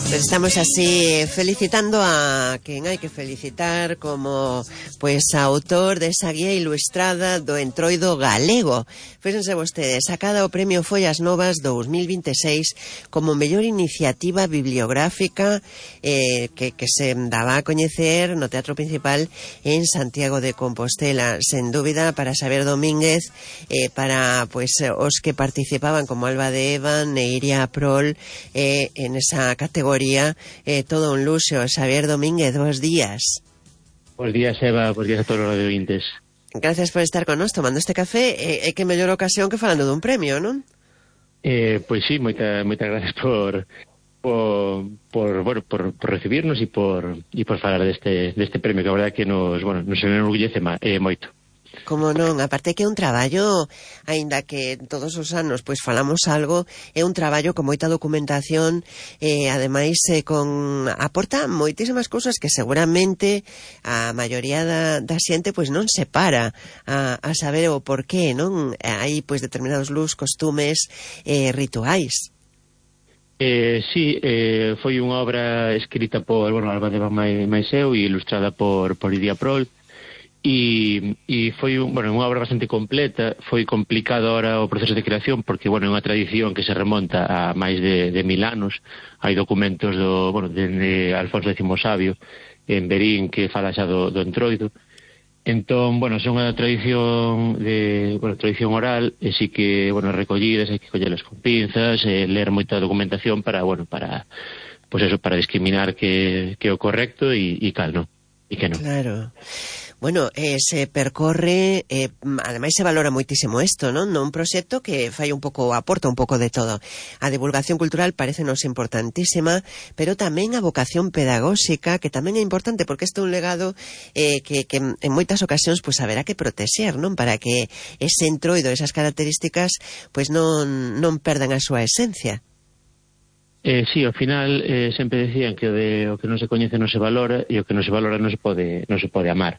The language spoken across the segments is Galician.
Pues estamos así felicitando a quen hai que felicitar como autor desa guía ilustrada do Entroido galego. Fíxense vostedes, sacada o Premio Follas Novas 2026 como mellor iniciativa bibliográfica que se daba a coñecer no Teatro Principal en Santiago de Compostela. Sen dúbida, para Xavier Domínguez, para os que participaban como Alba de Eva, Neiria Prol, en esa categoría, todo un luxo. Xavier Domínguez, bons días. Bos días, Eva, bos días a todos os radiovintes. Gracias por estar con nós tomando este café. Que mellor ocasión que falando dun premio, non? Pois sí, moitas gracias por recibirnos e por falar deste premio, que a verdade que nos enorgullece moito. Como non, aparte que é un traballo, aínda que todos os anos falamos algo, é un traballo con moita documentación, ademais aporta moitísimas cousas que seguramente a maioría da xente non se para a saber o porqué, non? Hai determinados luz, costumes, rituais. Sí, foi unha obra escrita por Alba de Eva máis eu e ilustrada por Idia Prol. E foi unha obra bastante completa. Foi complicado ahora o proceso de creación porque, é unha tradición que se remonta a máis de 1000 anos. Hai documentos de Alfonso X Sabio en Berín que fala xa do Entroido. Entón, son unha tradición tradición oral, e sí que, recollidas, hai que collelas con pinzas, ler moita documentación para discriminar que é o correcto e cal non, e que non. Claro. Se percorre, ademais se valora moitísimo isto, non? Un proxecto que aporta un pouco de todo. A divulgación cultural parecenos importantísima, pero tamén a vocación pedagóxica, que tamén é importante, porque este é un legado que en moitas ocasións haberá que protexer, non? Para que ese entroido, esas características, non perdan a súa esencia. Sí, ao final sempre decían que o que non se coñece non se valora, e o que non se valora non se pode amar.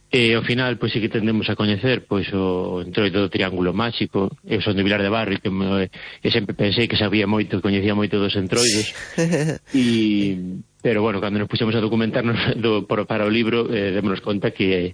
Ao final, sí que tendemos a coñecer o Entroido do Triángulo Máxico. Eu son de Vilar de Barrio e sempre pensei que sabía moito, que coñecía moito dos entroidos. Pero, cando nos puxemos a documentarnos para o libro, démonos conta que